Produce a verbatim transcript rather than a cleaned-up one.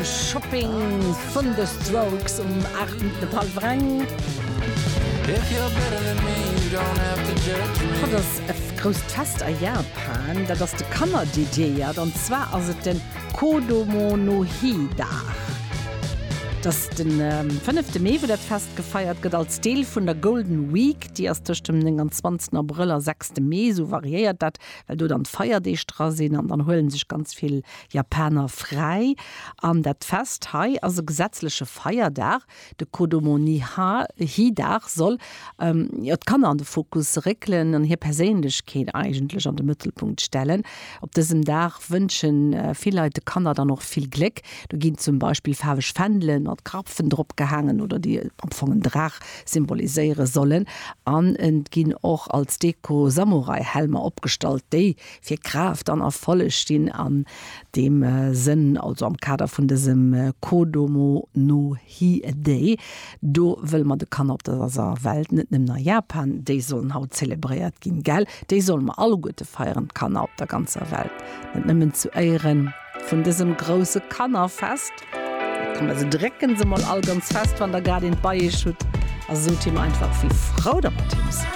Shopping vun The Strokes um aacht Minutten op hallwer eng. Haut ass e grousst Fest a Japan, dat ass de Kanner dediéiert an zwar ass et den Kodomo no Hi Dag. Et ass de fënnefte Mee wou dat Fest gefeiert gëtt als Deel vun der Golden Week, déi ass tëscht dem nénganzwanzegsten Abrëll a sechste Mee, esou variéiert dat, well do dann d'Feierdeeg dra sinn an dann huele sech ganz vill Japaner fräi. An dat Fest hei ass e gesetzleche Feierdag. De Kodomo ni Hi Dag soll jo d'Kanner an de Fokus réckelen an hir Perséinlechkeet eigentlech an de Mëttelpunkt stellen. Op dësem Dag wënsche vill Leit de Kanner dann och vill Gléck. Do ginn zum Beispill faarweg Fändele mat Krapfen drop gehaangen oder déi am Fong en Draach symboliséiere sollen. An et ginn och als Deko Samurai-Helmer opgestallt, déi fir Kraaft an Erfolleg stinn. An deem Sënn, also am Kader vun dësem Kodomo no Hi Day, do wëlle mer de Kanner op dëser Welt, net nëmmen a Japan, déi sollen haut zelebréiert ginn, gell? Déi solle mer alleguerte feieren, d'Kanner op der ganzer Welt, net nëmmen zu Éiere vun dësem grousse Kannerfest. Komm, also drécken se mol all ganz fest, wann der grad eent bei iech hutt, a sot him einfach, wéi frou der mat him sidd.